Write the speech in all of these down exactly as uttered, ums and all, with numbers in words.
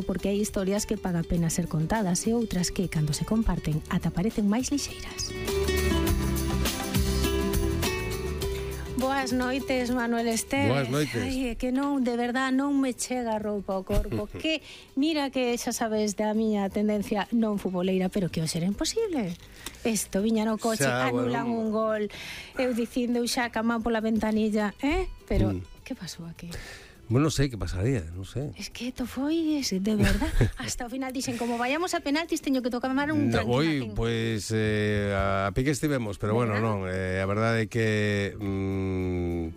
porque hai historias que paga pena ser contadas e outras que, cando se comparten, ata parecen máis lixeiras. Boas noites, Manuel Esteves. Boas noites. Ai, é que non, de verdad, non me chega a roupa ao corpo. Que, mira que xa sabes da miña tendencia non futboleira, pero que hoxe era imposible. Isto, viña no coche, xa, anulan bueno, un gol, eu dicindo xa camán pola ventanilla, eh? Pero, mm. que pasou aquí? Bueno, non sei que pasaría, non sei. Es que esto foi, es, de verdad, hasta o final dixen, como vayamos a penaltis, teño que tocar un no, tranquilacín. Hoy, pues, eh, a pique estivemos, pero bueno, non, eh, a verdade é que mm,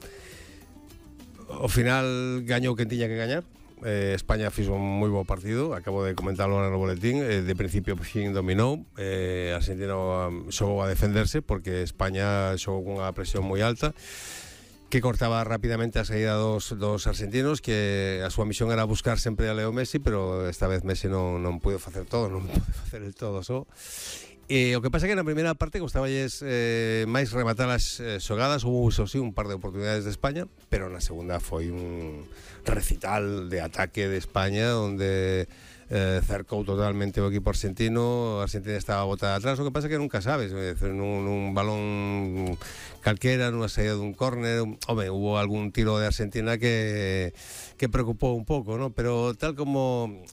ao final gañou quen tiña que gañar. eh, España fixo un moi bo partido, acabo de comentarlo no boletín, eh, de principio fin dominou, eh, Argentina um, xogou a defenderse porque España xogou cunha presión moi alta, que cortaba rapidamente a saída dos, dos argentinos, que a súa misión era buscar sempre a Leo Messi, pero esta vez Messi non, non pudo facer todo, non pudo facer el todo só. E o que pasa é que na primeira parte costaballes eh, máis rematar as eh, xogadas, houve iso sí un par de oportunidades de España, pero na segunda foi un recital de ataque de España onde eh, cercou totalmente o equipo argentino. A Argentina estaba botada atrás, o que pasa é que nunca sabes, nun, nun balón calquera, nunha saída dun córner, home, hubo algún tiro de Argentina que que preocupou un pouco, ¿no? Pero tal como...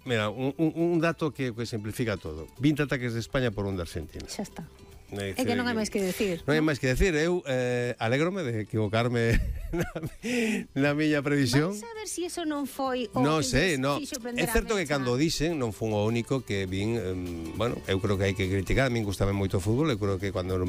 Mira, un, un, un dato que, que simplifica todo. vinte ataques de España por un de Argentina. Xa está. É É que non hai máis que decir. Non hai máis que decir. Eu eh, alégrome de equivocarme na, na miña previsión. Vais a ver se si eso non foi o non que sei, no. É certo que mecha. cando dixen non fun o único que vin, eh, bueno, eu creo que hai que criticar. A min gustame moito o fútbol, eu creo que cando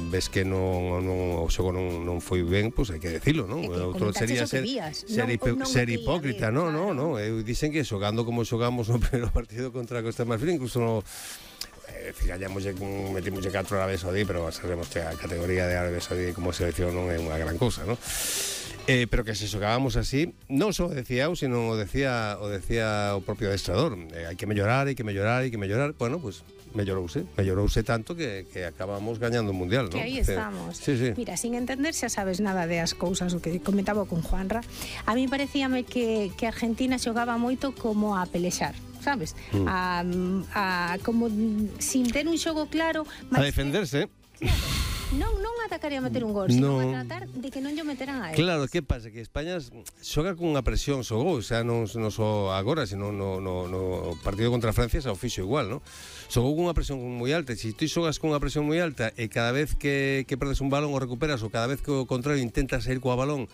ves que non, non o xogo non, non foi ben, pois pues hai que decirlo, non? Outro sería ser, ser, non, non ser hipócrita, non, non, non. Eu dixen que xogando como xogamos no primeiro partido contra a Costa de Marfil, incluso no fijamos, metimos catro Arabia Saudí, pero sabemos que a categoría de Arabia Saudí como selección non é unha gran cousa, non? Eh, pero que se xogábamos así, non só decía eu, sino o decía o decía o propio adestrador, eh, hai que mellorar, hai que mellorar, hai que mellorar. Bueno, pues mellorouse, mellorouse tanto que, que acabamos gañando o Mundial, que ¿no? aí estamos. Sí, sí. Mira, sin entender xa sabes nada de as cousas, o que comentaba con Juanra, a mí parecíame que, que Argentina xogaba moito como a pelexar, sabes? Mm. A, a, como sin ter un xogo claro, a defenderse. Que, claro, non, non atacaría a meter un gol, sino no. a tratar de que non lle meteran a él. Claro, que pasa? Que España xoga cunha presión, xogou, xa non, non só agora, sino no, no, no partido contra Francia xa o fixo igual, non? Xogou cunha presión moi alta, e se ti xogas cunha presión moi alta e cada vez que, que perdes un balón o recuperas, ou cada vez que o contrario intentas sair coa balón,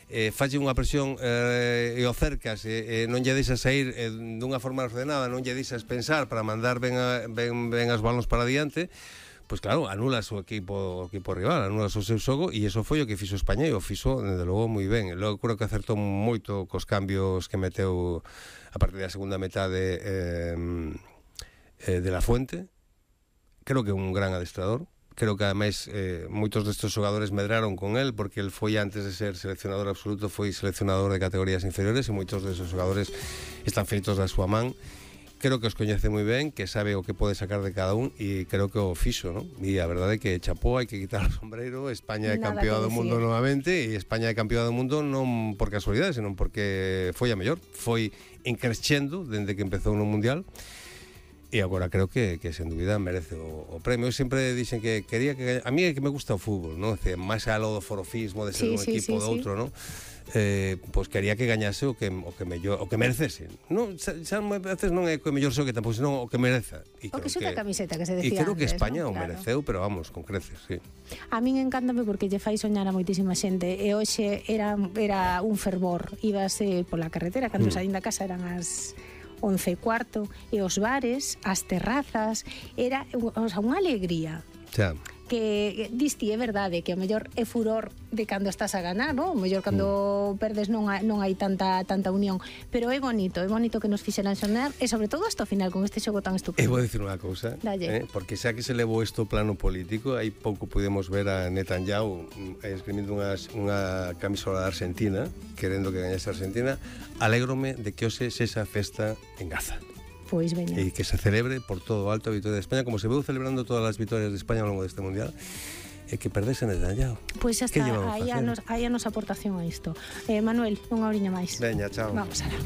eh, falle unha presión eh, e o cercas e eh, non lle deixas sair eh, dunha forma ordenada, non lle deixas pensar para mandar ben, a, ben, ben as balóns para diante, pois pues claro, anulas o equipo, o equipo rival, anulas o seu xogo, e iso foi o que fixo España, e o fixo, desde logo, moi ben. Logo creo que acertou moito cos cambios que meteu a partir da segunda metade eh, eh, de La Fuente. Creo que é un gran adestrador. Creo que ademais eh, moitos destes xogadores medraron con el, porque el foi, antes de ser seleccionador absoluto, foi seleccionador de categorías inferiores, e moitos deses xogadores están feitos da súa man. Creo que os coñece moi ben, que sabe o que pode sacar de cada un, e creo que o fixo, non? E a verdade é que chapó, hai que quitar o sombreiro. España é campeón do mundo novamente, e España é campeón do mundo non por casualidade, senón porque foi a mellor, foi encrescendo dende que empezou no Mundial. E agora creo que, que sen dúbida merece o, o premio. Eu sempre dixen que quería que... A mí é que me gusta o fútbol, non? Máis aló do forofismo de ser sí, un sí, equipo sí, do outro, sí. Non? Eh, pois quería que gañase o que o que mellor, o que merecese. Non, xa, xa veces non é o que mellor xo que tampouco, senón o que mereza. E o que xuta a camiseta que se decía. E creo antes, que España ¿no? o Claro. mereceu, pero vamos, con creces, sí. A min encántame porque lle fai soñar a moitísima xente, e hoxe era era un fervor. Ibase pola carretera cando mm. saín da casa, eran as once e cuarto, e os bares, as terrazas, era, o sea, unha alegría. Xa. Que disti, é verdade, que o mellor é furor de cando estás a ganar, non? O mellor cando mm. perdes non hai, non hai tanta tanta unión, pero é bonito, é bonito que nos fixeran sonar, e sobre todo hasta o final con este xogo tan estupendo. E vou dicir unha cousa, eh, porque xa que se levou isto ao plano político, hai pouco podemos ver a Netanyahu eh, esgrimindo unha, unha camisola de Argentina, querendo que gañase a Argentina. Alégrome de que hoxe sexa festa en Gaza. Pois veña. E que se celebre por todo o alto a vitoria de España, como se veu celebrando todas as vitorias de España ao longo deste Mundial, e que perdese Netanyahu. Pois xa está, aí a, nos, aí a nosa aportación a isto. Eh, Manuel, unha horiña máis. Veña, chao. Vamos alá.